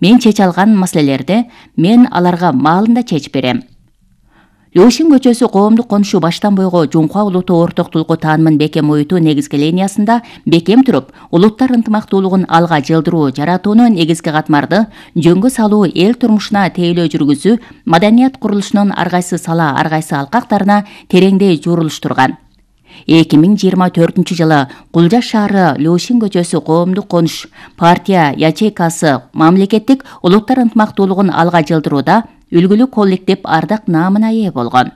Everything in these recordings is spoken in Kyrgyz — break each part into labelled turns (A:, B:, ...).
A: Мен чече алган маселелерди мен аларга маалында чечип берем. Лёшин көчөсү коомдук конушу баштан бойго Жумка улуттуу ортоктулукку таанымын бекем оюутуу негизги линиясында бекем туруп, улуттар ынтымактуулугун алга жылдыруу, жаратууну негизги катмарды жөнгө салуу, эл турмушуна тейлөө жүргүзүү, маданият курулушунун ар кайсы сала, ар кайсы алкактарына тереңдей журулуштурган. 2024 жылы Кулжа шаары Лёшин көчөсү коомдук конуш партия ячейкасы мамлекеттик улуттар ынтымактуулугун алга жылдырууда үлгүлүү коллектив ардак наамына ээ болгон.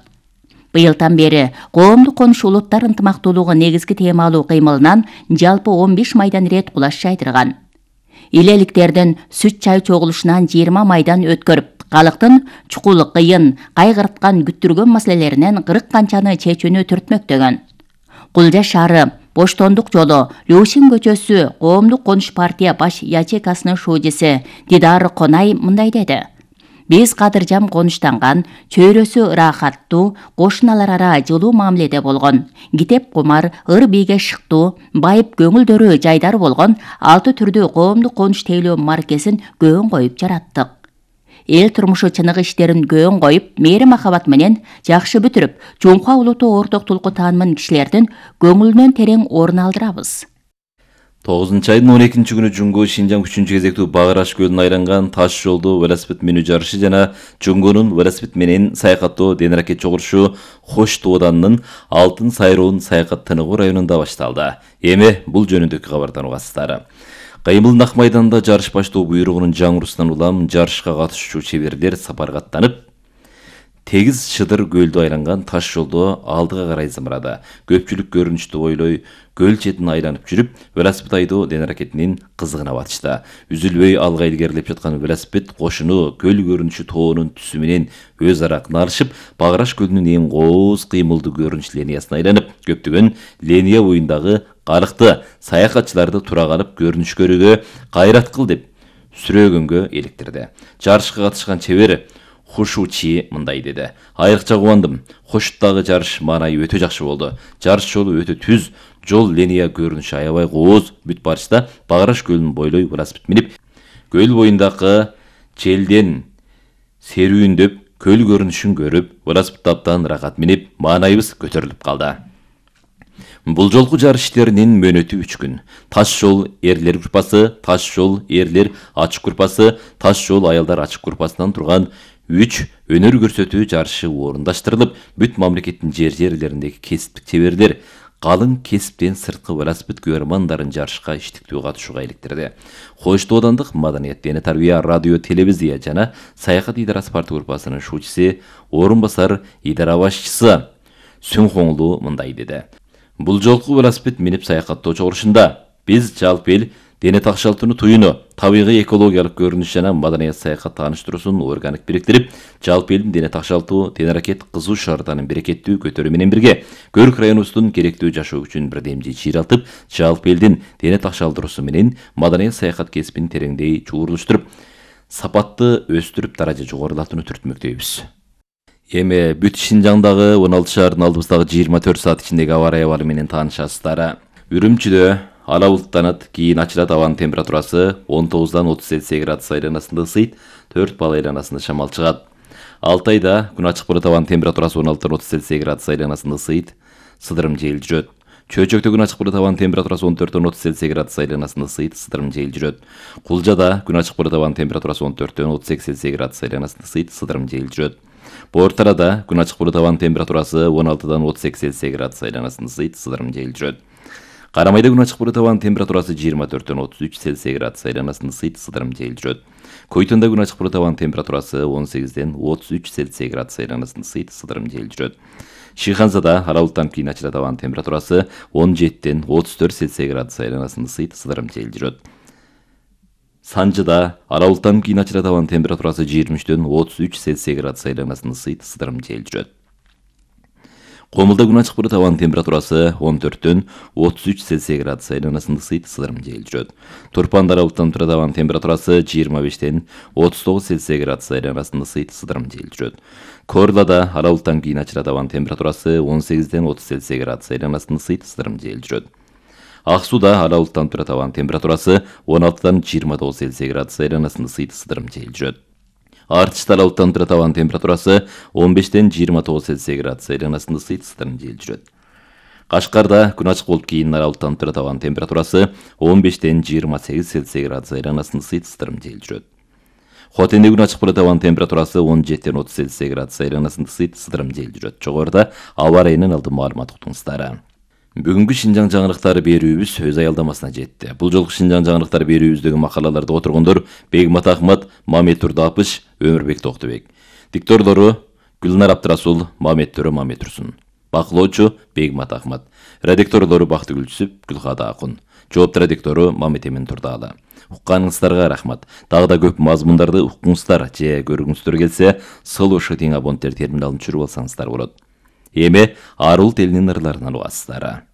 A: Быйылдан бери коомдук конуш улуттар ынтымактуулугу негизги темалуу кыймылынан жалпы 15 майдан ирет кулаш жайдырган. Илеликтердин сүт чай чогулушунан 20 майдан өткөрүп, калктын чукул, кыйын, кайгырткан, күттүргөн маселелеринен 40 канчаны чечүүнү түртмөктөгөн. Кулжа шаары Боштондук жолу Лёшин көчөсү коомдук конуш партия баш ячейкасынын шуудиси Дидар Конай мындай деди. Биз кадыржам конуштанган, чөйрөсү ырахаттуу, кошуналар ара жылуу мамиледе болгон, китеп кумар, ыр бийге шыктуу, байып көңүлдөрү жайдары болгон 6 түрдүү коомдук конуш тейлөө маркесин көөн коюп жараттык. Эл турмушу чыныгы иштерин көөн коюп, мээри махабат менен жакшы бүтүрүп, Жумка улуттуу ортоктулукку таанымын кишилердин көңүлүнөн терең орун алдырабыз.
B: 9-айдын 12 күнү Жуңго Шинжаң 3 кезектүү Багыраш көлүнө айланган таш жолду велосипед минүү жарышы жана Жуңгонун велосипед менен саякаттоо денаракет чогулушу Хош Тооданынын Алтын Сайроон саякат тыныгуу районунда башталды. Эми бул жөнүндөгү кабардан угасыздар. Кайымылдын ак майданында жарыш баштоо буйругунун жаңыруусунан улам жарышка катышуучу чеберлер сапарга аттанып, тегиз Шыдыр көлдү айланган таш жолдо алдыга карай зымырады. Көпчүлүк көрүнүштү ойлой, көл четин айланып жүрүп, велосипед айдоо денаракетинин кызыгына батышты. Үзүлбөй алга илгерилеп жаткан велосипед кошуну көл көрүнүшү тоонун түсү менен өз ара кыналышып, Багыраш көлүнүн эң кооз кыймылдуу көрүнүш линиясына айланып, көптөгөн линия боюндагы карыкты саякатчыларды тура калып көрүнүш көрүүгө кайрат кыл деп сүрөөгөнгө эликтирди. Жарышка катышкан чебер Хушучи мындай деди. Айрыкча кубандым. Хошуттагы жарыш маанайы өтө жакшы болду. Жарыш жолу өтө түз, жол линия көрүнүшү аябай кооз. Бүт барышта Багыраш көлүн бойлой велосипед минип, көл боюндагы желден серүүндөп, көл көрүнүшүн көрүп, велосипед абдан ырахат минип, маанайыбыз көтөрүлүп калды. Бул жолку жарыш иштеринин мөөнөтү 3 күн. Таш жол эрлер группасы, таш жол эрлер ачык группасы, таш жол аялдар ачык группасынан турган 3 өнөр көрсөтүү жарышы орундаштырылып, бүт мамлекеттин жерлериндеги кесиптик чеберлер калың кесиптен сырткы велосипед көрөрмандарын жарышка иштиктүү катышууга иликтирди. Хош Тоодандык Маданият дене тарбия радио телевизия жана саякат идарасы партия группасынын шуучусы, орун басар идара башчысы Сүнхоңлу мындай деди. Бул жолку велосипед минип саякаттоо чогулушунда биз жалпы эл дене такшалтууну туюну, табигый экологиялык көрүнүш жана маданият саякат тааныштыруусун органик бириктирип, жалпы элдин дене такшалтуу, денаракет кызуу шаардарын берекеттүү көтөрүү менен бирге Көрк районубуздун керектүү жашоо үчүн бирдемжи чыйралтып, жалпы элдин дене такшалдыруусу менен маданият саякат кесибин тереңдей чуурулуштуруп, сапатты өстүрүп, даража жогорулатууну түртмөктөйбүз. Эми бүт Шинжаңдагы 16 шаардын алдыбыздагы 24 саат ичиндеги аба аябары менен таанышасыздар. Үрүмчүдө ала булуттанат, кийин ачылат, абанын температурасы 19-дан 30 Цельсий градус айланасында ысыйт, 4 балл айланасында шамал чыгат. Алтайда күн ачык болот, абанын температурасы 16-дан 30 Цельсий градус айланасында ысыйт, сыдырым жел жүрөт. Чөйчөктө күн ачык болот, абанын температурасы 14-дөн 30 Цельсий градус айланасында ысыйт, сыдырым жел жүрөт. Кулжада күн ачык болот, абанын температурасы 14-дөн 32 Цельсий градус айланасында ысыйт, сыдырым жел жүрөт. Бортарада күн ачык болот, абанын температурасы 16-дан 32 Цельсий градус айланасында ысыйт, сыдырым жел жүрөт. Карамайда күн ачык болот, абанын температурасы 24-дөн 33 Цельсий градус айланасында ысыйт, сыдырым жел жүрөт. Койтонда күн ачык болот, абанын температурасы 18-ден 33 Цельсий градус айланасында ысыйт, сыдырым жел жүрөт. Шиханзада ала булуттан кийин ачылат, абанын температурасы 17-ден 34 Цельсий градус айланасында ысыйт, сыдырым жел жүрөт. Санжыда ала булуттан кийин ачылат, абанын температурасы 23-дөн 33 Цельсий градус айланасында ысыйт, сыдырым жел жүрөт. Комулда күн ачык болот, абанын температурасы 14-дөн 33 Цельсий градус айланасында ысыйт, сыдырым жел жүрөт. Турпанда ала булуттан турат, абанын температурасы 25-ден 39 Цельсий градус айланасында ысыйт, сыдырым жел жүрөт. Корлада ала булуттан кийин ачылат, абанын температурасы 18-ден 30 Цельсий градус айланасында ысыйт, сыдырым жел жүрөт. Ак сууда ала булуттанып турат. Абанын температурасы 16-дан 29 Цельсий градус айланасында ысыйт ысыдырым жел жүрөт. Артышта ала булуттанып турат. Абанын температурасы 15-ден 29 Цельсий градус айланасында ысыйт ысыдырым жел жүрөт. Кашкарда күн ачык болуп кийин ала булуттанып турат. Абанын температурасы 15-ден 28 Цельсий градус айланасында ысыйт ысыдырым жел жүрөт. Хотенде күн ачык болот. Абанын температурасы 17-ден 30 Цельсий градус айланасында ысыйт ысыдырым жел жүрөт. Жогоруда аба ырайынан алдын маалымат уктуңуздар. Бүгүнкү Шинжаң жаңылыктары берүүбүз өз аялдамасына жетти. Бул жолку Шинжаң жаңылыктары берүүбүздөгү макалаларды отургондор Бегмат Ахмат, Мамет Турдапыш, Өмүрбек Токтубек. Дикторлору Гүлнар Абдрасул, Мамет Төрө, Мамет Турсун. Бакылоочу Бегмат Ахмат. Редакторлору Бактыгүл Түсүп, Гүлкада Акун. Жоопту редактору Мамет Эмин Турдаалы. Укканыңыздарга рахмат. Дагы да көп мазмундарды уккуңуздар же көргүңүздөр келсе, Сылу Шытың абоненттер терминалын түшүрүп алсаңыздар болот. Эми Арул телинин ырларынан угасыздар.